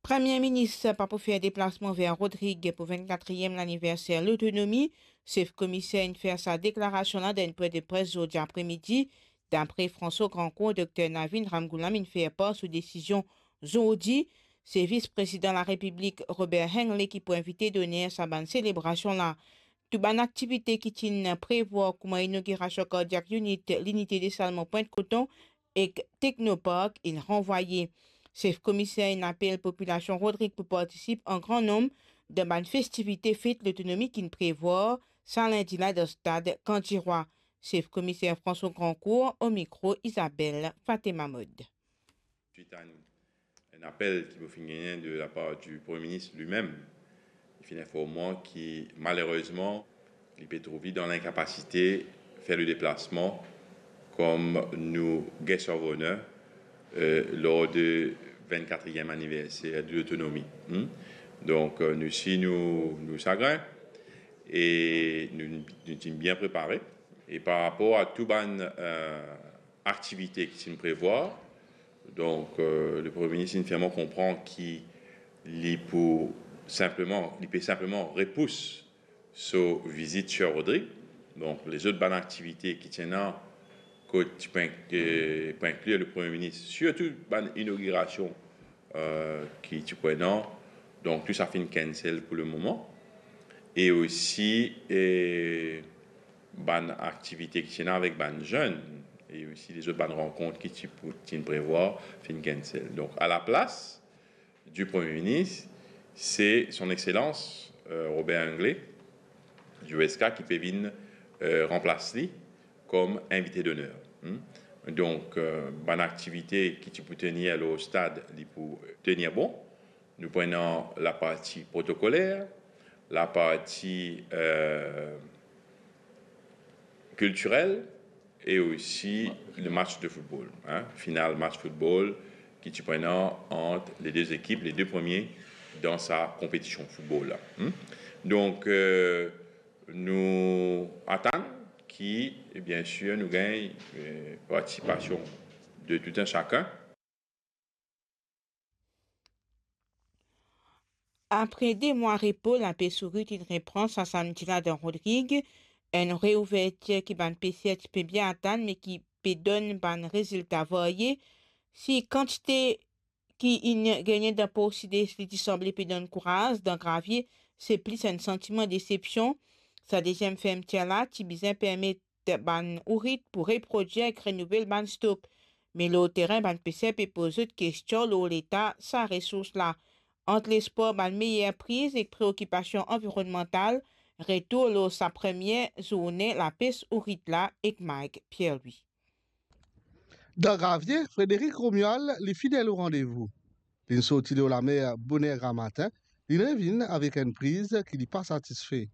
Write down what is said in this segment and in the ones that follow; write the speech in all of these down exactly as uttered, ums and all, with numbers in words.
Premie Minis pa pou fer deplasman ver Rodrig pou vennkatriem laniverser lotonomi. Sef Komiser inn fer sa deklarasion la dan enn pwin de pres zordi apremidi. Dapre François Grandcourt, Dokter Navin Ramgoolam inn fer par so desizion zordi. Se Vis Prezidan Larepiblik Robert Hingley ki pou invite doner sa bann selebrasion la. Tou bann aktivite ki ti inn prevwar kouma inogirasion Cardiac Unit, Linite Desalmon Pwint Koton ek Technopark inn ranvwaye. Sef Komiser inn apel popilasion Rodrig pou partisip an gran nonm dan bann festivite fet lotonomi ki'nn prevwar sa lindi la dan stad Kandirwa. Sef Komiser François Grandcourt, o mikro Isabelle Fatema Mod. Suite à une, un appel ki mo finn gagne de la part du Premier ministre lui-même, li finn inform mwa ki malerezman, li pe trouv li dan linkapasite fer le deplasman kom nou guest of honor, euh, lor de vennkatriem aniverser de lotonomi. Hmm? Donk, euh, nou si nou, nou sagrin e nou, nou ti bien prepare. E par rapor a tou bann, euh, aktivite ki ti inn prevwar. Donk, euh, le Premie Minis inn fer mwa konpran ki li pou sinpleman, li pe sinpleman repous so vizit Sir Rodrig. Donk, lezot bann aktivite ki ti ena, kot ti pou ink-, eh, pou inklir le Premie Minis, sirtou bann inogirasion, euh, ki ti pou ena. Donk, tou sa finn cancel pou le moman. E osi, eh, bann aktivite ki ti ena avek bann zenn, e osi lezot bann rankont ki ti pou, ti inn prevwar, finn cancel. Donk, a la plas du Premier Minis, se Son Exselans, euh, Robert Hingley, du S K, ki pe vinn, euh, ranplas li kom invite d'honneur. Hmm? Donk, euh, bann aktivite ki ti pou tenir lor stad, li pou tenir bon. Nou pou ena laparti protokoler, laparti, euh, kiltirel e osi le match de football, hein, final match football ki ti pou ena ant le de ekip, le de premie dan sa konpetision football la. Hmm? Donk, euh, nou atann ki, bien sir, nou gagn, euh, partisipasion de tout un chacun. Apre de mwa repo, lapes ourit inn repran sa samdi la dan Rodrig, enn reouvertir ki bann peser ti pe bien atann, me ki pe donn bann rezilta varye. Si kantite ki inn gagne dan Por Sides, li ti sanble pe donn kouraz, dan Gravie, se plis enn santiman desepsion. Sa deziem fermtir la ti bizin permet bann ourit pou reprodwir ek renouvel bann stok. Me lor terin, bann peser pe poz zot kestion lor leta sa resours la. Ant lespwar bann meyer priz ek preokipasion anvironnmantal, retour lor sa premie zourne lapes ourit la ek Mike Pierre-Louis. Dan Gravie, Frédéric Romuald, li fidel o randevou. Li'nn sorti lor lamer boner gramatin, li'nn revinn avek enn priz ki li pa satisfe.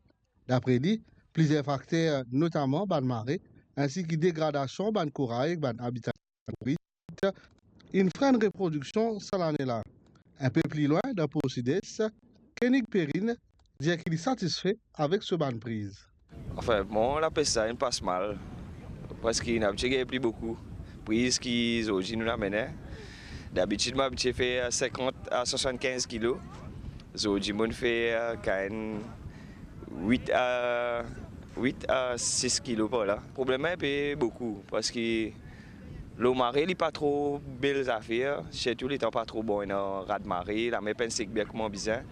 Dapre li, plizier fakter, notaman bann mare, insi ki degradasion bann koray ek bann abita, inn frenn reprodiksion sa lane la. Inpe pli lwin, dan Por Sides, Koenig Perrine dir ki li satisfe avek so bann priz. Anfin, bon, lapes la inn pas mal. Parski inn abitie gagn pli boukou priz ki zordi nou amenn. Dabitid, mo abitie fer sinkant a swasannkinz kilo. Zordi, mo'nn fer, euh, kan wit a, wit a sis kilo par la. Problem la inpe boukou, parski lor mare, li pa tro bel zafer, sirtou letan pa tro bon, ena rad mare, lamer pa inn sek bien kouma bizin.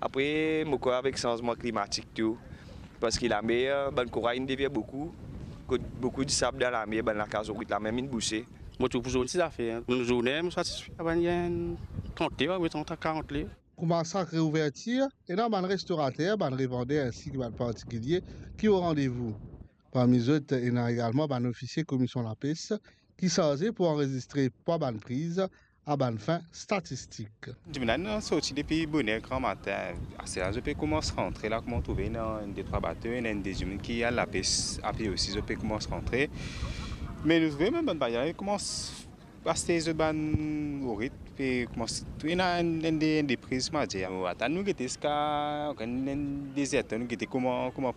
Apre, mo krwar avek sanzman klimatik tou, parski lamer, bann koray inn devir boukou, kot boukou disab dan lamer, bann lakaz ourit la mem inn bouse. Mo trouv pou zoli zafer, hein. Pou nou zourne, mo satisfe. Aba, ena enn trant ler, wi, trant a karant ler. Kouma sak reouvertir, ena bann restorater, bann revander insi ki bann partikilie ki o randevou. Parmi zot, ena egalman bann ofisie Komisyon Lapes ki sarze pou anrezistre pwa bann priz a bann fin statistik. Dimann la, nou sorti depi boner gramatin. Aster la, zot pe koumans rantre la, kouma ou trouve, ena enn de trwa bato, ena enn de dimoun ki al lapes apie osi, zot pe koumans rantre. Me nou trouve mem bann bagay koumans aste zot bann ourit, pe koumans, ena enn, enn de, enn de priz, mo dir. Nou atann, nou gete ziska enn, enn de zertan, nou gete kouma, kouma